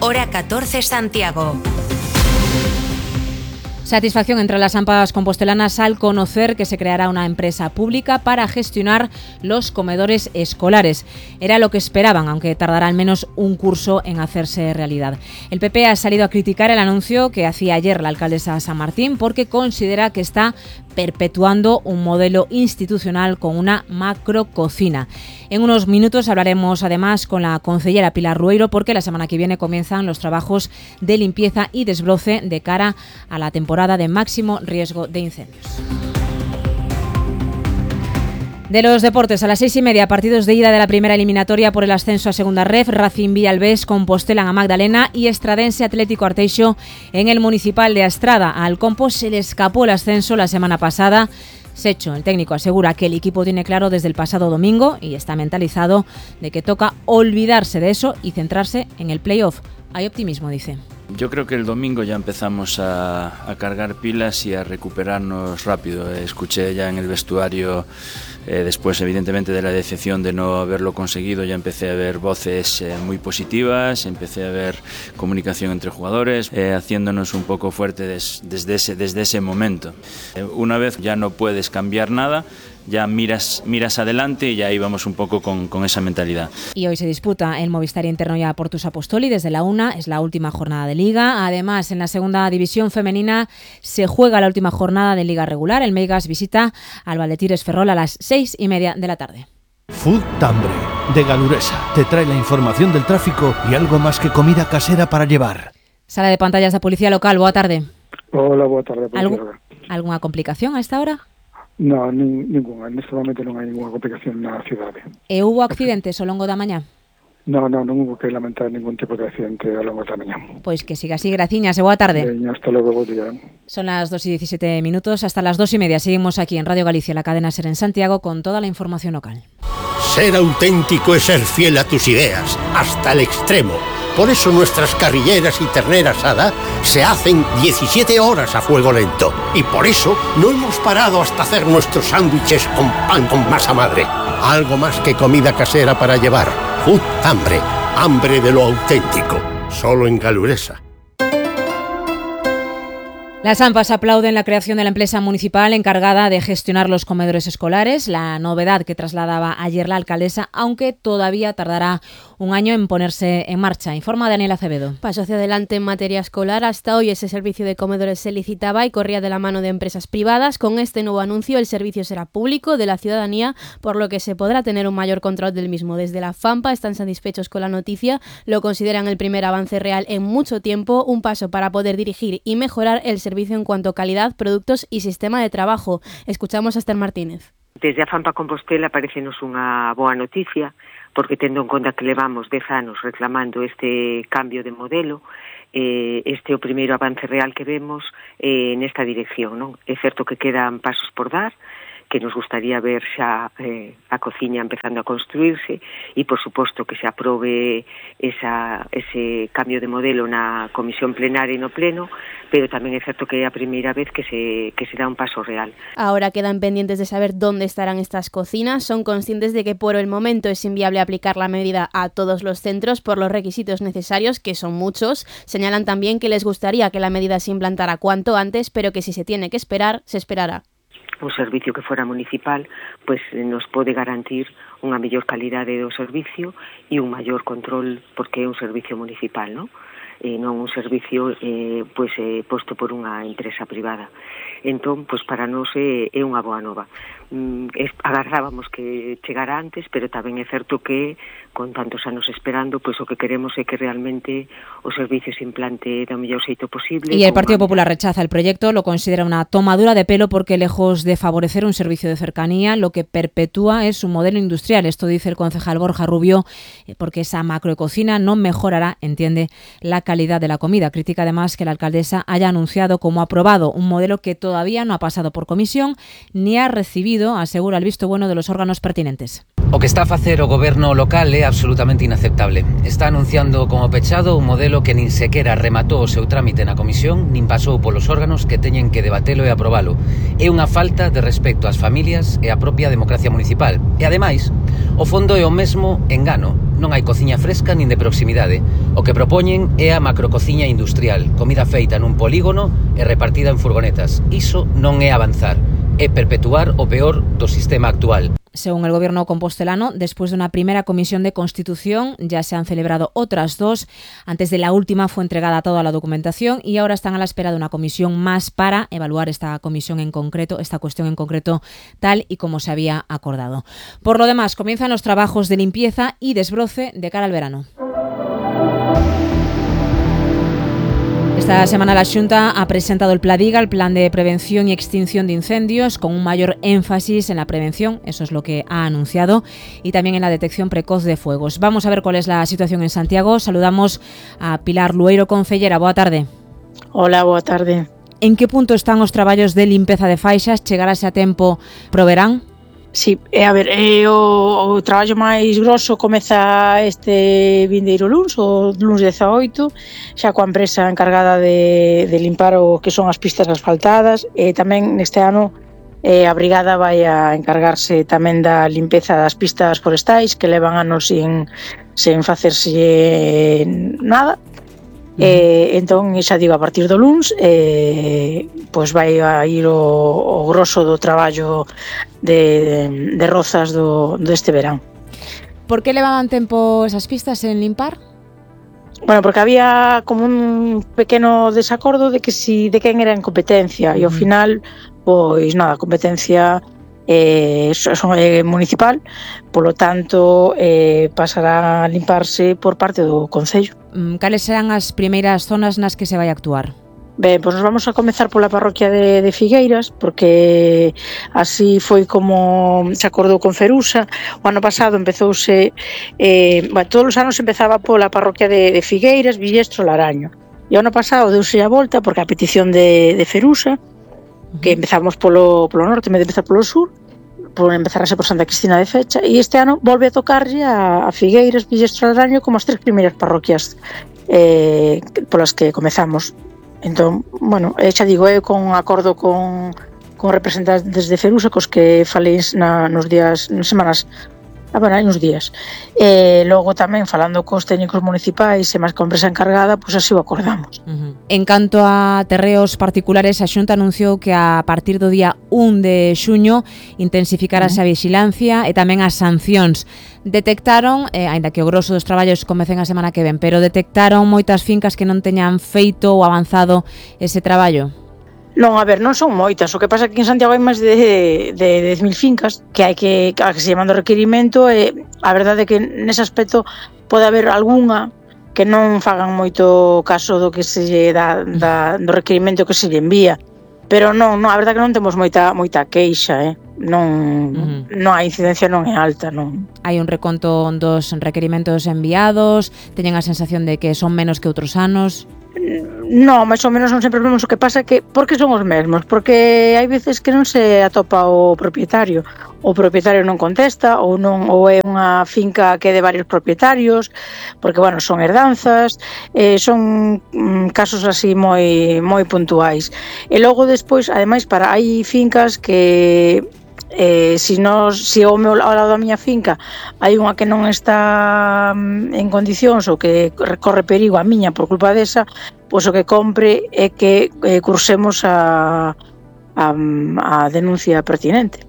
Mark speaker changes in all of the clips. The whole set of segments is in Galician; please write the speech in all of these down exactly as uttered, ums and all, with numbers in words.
Speaker 1: hora catorce Santiago.
Speaker 2: Satisfacción entre las AMPAs compostelanas al conocer que se creará una empresa pública para gestionar los comedores escolares. Era lo que esperaban, aunque tardará al menos un curso en hacerse realidad. El P P ha salido a criticar el anuncio que hacía ayer la alcaldesa San Martín porque considera que está perpetuando un modelo institucional con una macrococina. En unos minutos hablaremos además con la concejala Pilar Rueiro porque la semana que viene comienzan los trabajos de limpieza y desbroce de cara a la temporada de máximo riesgo de incendios. De los deportes, a las seis y media, partidos de ida de la primera eliminatoria por el ascenso a Segunda Ref, Racing Villalbés, Compostelan a Magdalena y Estradense Atlético Arteixo en el Municipal de Astrada. Al Compo se le escapó el ascenso la semana pasada. Secho, el técnico, asegura que el equipo tiene claro desde el pasado domingo y está mentalizado de que toca olvidarse de eso y centrarse en el play-off. Hay optimismo, dice.
Speaker 3: Yo creo que el domingo ya empezamos a, a cargar pilas y a recuperarnos rápido. Escuché ya en el vestuario, eh, después evidentemente de la decepción de no haberlo conseguido, ya empecé a ver voces eh, muy positivas, empecé a ver comunicación entre jugadores, eh, haciéndonos un poco fuertes des, desde, ese, desde ese momento. Eh, una vez ya no puedes cambiar nada, ya miras, miras adelante y ya íbamos un poco con, con esa mentalidad.
Speaker 2: Y hoy se disputa el Movistar Interno ya Portus Apostoli desde la una, es la última jornada de Liga. Además, en la segunda división femenina se juega la última jornada de Liga regular. El Meigas visita al Valdetires Ferrol a las seis y media de la tarde.
Speaker 4: Food Tambre, de Galuresa, te trae la información del tráfico y algo más que comida casera para llevar.
Speaker 2: Sala de pantallas de Policía Local, boa tarde.
Speaker 5: Hola, boa tarde.
Speaker 2: ¿Algu- ¿Alguna complicación a esta hora?
Speaker 5: No, nin, ninguna. Neste momento non hai ninguna complicación na cidade.
Speaker 2: E hubo accidentes ao longo da mañá?
Speaker 5: No, no, non hubo que lamentar ningún tipo de accidente ao longo da mañá.
Speaker 2: Pois que siga así, graciñas e boa tarde.
Speaker 5: Veña, hasta logo, bo día.
Speaker 2: Son las dos y diecisiete minutos, hasta las dos y media seguimos aquí en Radio Galicia, la cadena SER en Santiago, con toda la información local.
Speaker 6: Ser auténtico es ser fiel a tus ideas, hasta el extremo. Por eso nuestras carrilleras y ternera asada se hacen diecisiete horas a fuego lento. Y por eso no hemos parado hasta hacer nuestros sándwiches con pan con masa madre. Algo más que comida casera para llevar. Food Hambre, hambre de lo auténtico. Solo en Galuresa.
Speaker 2: Las AMPAs aplauden la creación de la empresa municipal encargada de gestionar los comedores escolares, la novedad que trasladaba ayer la alcaldesa, aunque todavía tardará un año en ponerse en marcha. Informa Daniela Acevedo.
Speaker 7: Paso hacia adelante en materia escolar. Hasta hoy ese servicio de comedores se licitaba y corría de la mano de empresas privadas. Con este nuevo anuncio el servicio será público, de la ciudadanía, por lo que se podrá tener un mayor control del mismo. Desde la FAMPA están satisfechos con la noticia, lo consideran el primer avance real en mucho tiempo, un paso para poder dirigir y mejorar el servicio en cuanto a calidad, productos y sistema de trabajo. Escuchamos a Esther Martínez.
Speaker 8: Desde a FAMPA Compostela parecenos unha boa noticia, porque tendo en conta que levamos dez anos reclamando este cambio de modelo, eh, este é o primeiro avance real que vemos eh, nesta dirección, non? É certo que quedan pasos por dar, que nos gustaría ver xa eh, a cociña empezando a construirse e, por suposto, que se aprobe esa, ese cambio de modelo na comisión plenaria e no pleno, pero tamén é certo que é a primeira vez que se, que se dá un paso real.
Speaker 7: Ahora quedan pendientes de saber dónde estarán estas cocinas. Son conscientes de que por el momento es inviable aplicar la medida a todos los centros por los requisitos necesarios, que son muchos. Señalan también que les gustaría que la medida se implantara cuanto antes, pero que si se tiene que esperar, se esperará.
Speaker 8: Un servicio que fora municipal pues nos pode garantir unha mellor calidade do servicio e un maior control porque é un servicio municipal, non? Eh, non un servicio eh, pues, eh, posto por unha empresa privada. Entón, pues, para nós é, é unha boa nova. Mm, es, agarrábamos que chegara antes, pero tamén é certo que con tantos anos esperando, pois pues, o que queremos é que realmente o servicio se implante do mellor xeito posible.
Speaker 2: Y el Partido Popular rechaza el proyecto, lo considera una tomadura de pelo porque lejos de favorecer un servicio de cercanía, lo que perpetúa es un modelo industrial. Esto dice el concejal Borja Rubio, porque esa macrococina no mejorará, entiende, la calidad de la comida. Critica además que la alcaldesa haya anunciado como aprobado un modelo que todavía no ha pasado por comisión ni ha recibido, asegura, el visto bueno de los órganos pertinentes.
Speaker 9: O que está a facer o goberno local é absolutamente inaceptable. Está anunciando como pechado un modelo que nin sequera rematou o seu trámite na comisión, nin pasou polos órganos que teñen que debatelo e aprobalo. É unha falta de respecto ás familias e á propia democracia municipal. E ademais, o fondo é o mesmo engano. Non hai cociña fresca nin de proximidade. O que propoñen é a macrocociña industrial, comida feita nun polígono e repartida en furgonetas. Iso non é avanzar, é perpetuar o peor do sistema actual.
Speaker 2: Según el gobierno compostelano, después de una primera comisión de constitución, ya se han celebrado otras dos. Antes de la última fue entregada toda la documentación y ahora están a la espera de una comisión más para evaluar esta comisión en concreto, esta cuestión en concreto, tal y como se había acordado. Por lo demás, comienzan los trabajos de limpieza y desbroce de cara al verano. Esta semana la Xunta ha presentado el Pladiga, el Plan de Prevención y Extinción de Incendios, con un mayor énfasis en la prevención, eso es lo que ha anunciado, y también en la detección precoz de fuegos. Vamos a ver cuál es la situación en Santiago. Saludamos a Pilar Lueiro, concellera. Boa tarde.
Speaker 10: Hola, boa tarde.
Speaker 2: En que punto están os traballos de limpeza de faixas? Chegarase a tempo pro verán?
Speaker 10: Sí, a ver, eh, o, o traballo máis grosso comeza este vindeiro luns, o luns dezaoito, xa coa empresa encargada de, de limpar o que son as pistas asfaltadas, e tamén neste ano eh, a brigada vai a encargarse tamén da limpeza das pistas forestais, que levan anos sin, sin facerse nada. Eh, entón, xa digo, a partir do luns eh, pois vai a ir o, o grosso do traballo de, de rozas do, deste verán.
Speaker 2: Por que levaban tempo esas pistas en limpar?
Speaker 10: Bueno, porque había como un pequeno desacordo de que si de quen era en competencia, uh-huh. E ao final, pois nada, a competencia eh, son eh, municipal, polo tanto eh, pasará a limparse por parte do Concello.
Speaker 2: Cales serán as primeiras zonas nas que se vai actuar?
Speaker 10: Ben, pois nos vamos a comezar pola parroquia de, de Figueiras, porque así foi como se acordou con Ferusa. O ano pasado empezouse, eh, bueno, todos os anos empezaba pola parroquia de, de Figueiras, Villestro, Laraño. E o ano pasado deuse a volta, porque a petición de, de Ferusa, que empezamos polo, polo norte, en vez de empezar polo sur, por empezar a ser por Santa Cristina de Fecha, e este ano volve a tocarlle a, a Figueiras, Villestro, Laraño como as tres primeiras parroquias eh, polas que comezamos. Entón, bueno, xa digo, eu con acordo con, con representantes de Ferusa, cos que falei na, nos días, nas semanas, ah, bueno, hai uns días. E logo tamén falando cos técnicos municipais e máis con a empresa encargada, pois así o acordamos.
Speaker 2: Uh-huh. En canto a terreos particulares, a Xunta anunciou que a partir do día un de xuño intensificarase uh-huh. a vixilancia e tamén as sancións. Detectaron, eh, aínda que o grosso dos traballos comecen a semana que ven, pero detectaron moitas fincas que non teñan feito ou avanzado ese traballo?
Speaker 10: Non, a ver, non son moitas, o que pasa é que en Santiago hai máis de, de dez mil fincas que hai que, a que se llaman do requerimento, e a verdade é que nese aspecto pode haber algunha que non fagan moito caso do que se lle dá, da, do requerimento que se lle envía, pero non, non, a verdade é que non temos moita moita queixa, eh? non, uh-huh. non a incidencia non é alta, non.
Speaker 2: Hai un reconto dos requerimentos enviados, teñen a sensación de que son menos que outros anos?
Speaker 10: Non, máis ou menos non sempre vemos. O que pasa é que, por que son os mesmos? Porque hai veces que non se atopa o propietario, o propietario non contesta, ou non, ou é unha finca que é de varios propietarios, porque, bueno, son herdanzas, eh, son mm, casos así moi moi puntuais. E logo despois, ademais, para hai fincas que eh, si, nos, si ao, meu, ao lado da miña finca hai unha que non está en condicións ou que corre perigo a miña por culpa desa, pois o que compre é que eh, cursemos a, a, a denuncia pertinente.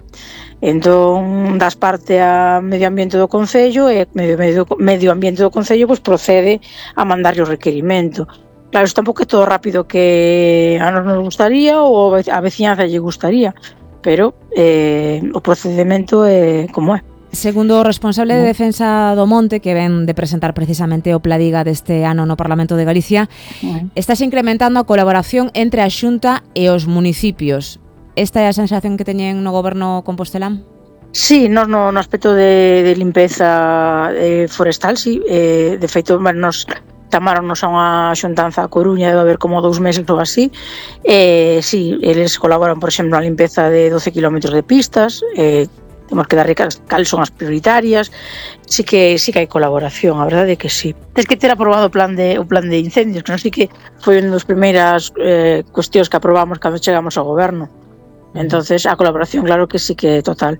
Speaker 10: Entón, das parte a medio ambiente do Concello e medio, medio, medio ambiente do Concello pois procede a mandarlle o requerimento. Claro, isto tampouco é todo rápido que a nos nos gustaría ou a veciñanza lle gustaría, pero eh, o procedimento é como é.
Speaker 2: Segundo o responsable de Defensa do Monte, que ven de presentar precisamente o Pladiga deste ano no Parlamento de Galicia, uh-huh. estáse incrementando a colaboración entre a Xunta e os municipios. Esta é a sensación que teñen no goberno compostelán?
Speaker 10: Sí, nos no, no aspecto de, de limpeza eh, forestal, sí. Eh, de feito, nos chamaronnos a unha xuntanza a Coruña, debe haber como dous meses ou así. Eh, sí, eles colaboran, por exemplo, na limpeza de doce kilómetros de pistas, eh, temos que dar cales son as prioritarias. Sí que sí que hai colaboración, a verdade é que sí. Tens que ter aprobado o plan de o plan de incendios, que non sei que foi unha das primeiras eh, cuestións que aprobamos cando chegamos ao goberno. Entonces, a colaboración, claro que sí que é total.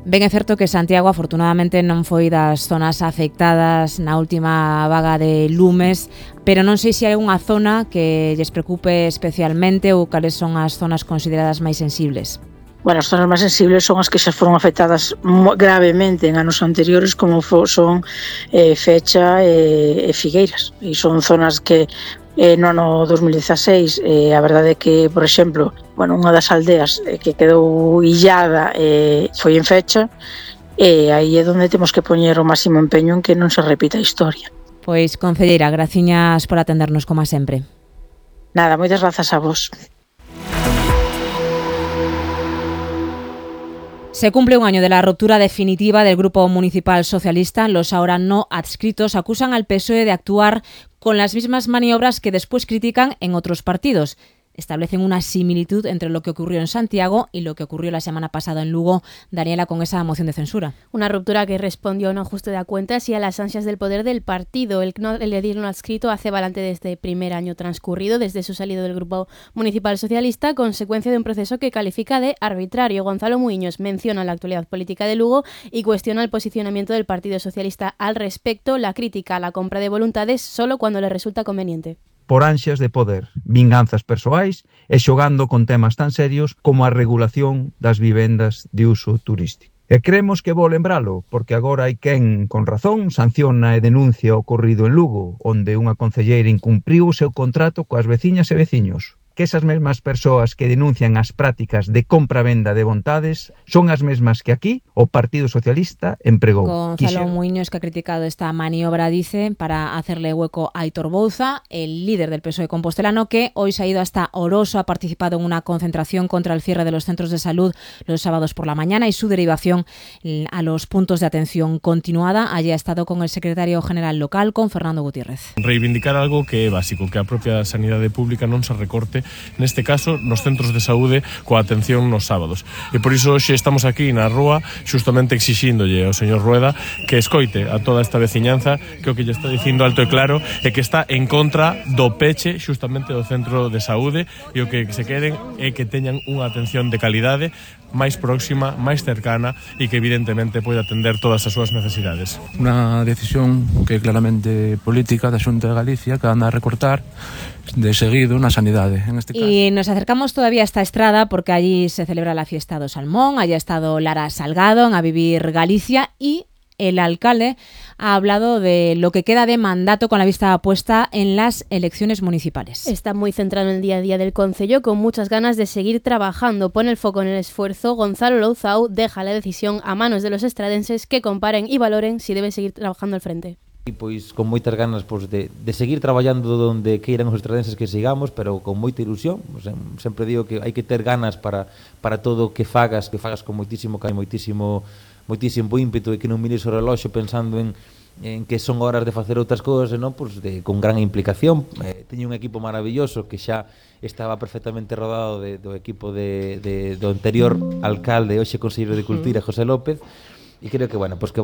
Speaker 2: Ben é certo que Santiago afortunadamente non foi das zonas afectadas na última vaga de lumes, pero non sei se hai unha zona que lles preocupe especialmente ou cales son as zonas consideradas máis sensibles.
Speaker 10: Bueno, as zonas máis sensibles son as que xa foron afectadas gravemente en anos anteriores, como son eh, Fecha e, e Figueiras. E son zonas que eh, no ano dos mil dezaseis, eh, a verdade é que, por exemplo, bueno, unha das aldeas eh, que quedou illada eh, foi en Fecha, e aí é onde temos que poñer o máximo empeño en que non se repita a historia.
Speaker 2: Pois, concelleira, graciñas por atendernos como sempre.
Speaker 10: Nada, moitas grazas a vos.
Speaker 2: Se cumple un año de la ruptura definitiva del Grupo Municipal Socialista. Los ahora no adscritos acusan al P S O E de actuar con las mismas maniobras que después critican en otros partidos. Establecen una similitud entre lo que ocurrió en Santiago y lo que ocurrió la semana pasada en Lugo, Daniela, con esa moción de censura.
Speaker 7: Una ruptura que respondió a un ajuste de cuentas y a las ansias del poder del partido. El, el edil no adscrito hace balance de este primer año transcurrido desde su salida del Grupo Municipal Socialista, consecuencia de un proceso que califica de arbitrario. Gonzalo Muiños menciona la actualidad política de Lugo y cuestiona el posicionamiento del Partido Socialista al respecto. La crítica a la compra de voluntades solo cuando le resulta conveniente.
Speaker 11: Por ansias de poder, vinganzas persoais e xogando con temas tan serios como a regulación das vivendas de uso turístico. E creemos que vou lembralo, porque agora hai quen, con razón, sanciona e denuncia o ocorrido en Lugo, onde unha concelleira incumpriu o seu contrato coas veciñas e veciños. Que esas mesmas persoas que denuncian as prácticas de compra-venda de vontades son as mesmas que aquí o Partido Socialista empregou.
Speaker 2: Gonzalo Muiños, que ha criticado esta maniobra, dice, para hacerle hueco a Aitor Bouza, el líder del P S O E compostelano, que hoy se ha ido hasta Oroso, ha participado en una concentración contra el cierre de los centros de salud los sábados por la mañana y su derivación a los puntos de atención continuada. Allí ha estado con el secretario general local, con Fernando Gutiérrez.
Speaker 12: Reivindicar algo que é básico, que a propia sanidade pública non se recorte, neste caso, nos centros de saúde coa atención nos sábados. E por iso hoxe estamos aquí na rúa xustamente exixíndolle ao señor Rueda que escoite a toda esta veciñanza, que o que lle está dicindo alto e claro é que está en contra do peche xustamente do centro de saúde, e o que se queren é que teñan unha atención de calidade máis próxima, máis cercana e que evidentemente pode atender todas as súas necesidades.
Speaker 13: Unha decisión que é claramente política da Xunta de Galicia, que anda a recortar de seguido na sanidade, en este caso.
Speaker 2: Y nos acercamos todavía a esta Estrada porque allí se celebra la fiesta do Salmón, allí ha estado Lara Salgado en A Vivir Galicia y el alcalde ha hablado de lo que queda de mandato con la vista puesta en las elecciones municipales.
Speaker 7: Está muy centrado en el día a día del concello, con muchas ganas de seguir trabajando. Pone el foco en el esfuerzo. Gonzalo Louzao deja la decisión a manos de los estradenses, que comparen y valoren si debe seguir trabajando al frente.
Speaker 14: E pois con moitas ganas pois, de, de seguir traballando donde queiran os estradenses que sigamos, pero con moita ilusión. Pois, sempre digo que hai que ter ganas para, para todo o que fagas, que fagas con moitísimo cariño, moitísimo, moitísimo ímpeto, e que non mires o reloxo pensando en, en que son horas de facer outras cousas, non? Pois de, con gran implicación. Eh, teño un equipo maravilloso que xa estaba perfectamente rodado de, do equipo de, de, do anterior alcalde, hoxe conselleiro de Cultura, José López, e creo que, bueno, pois que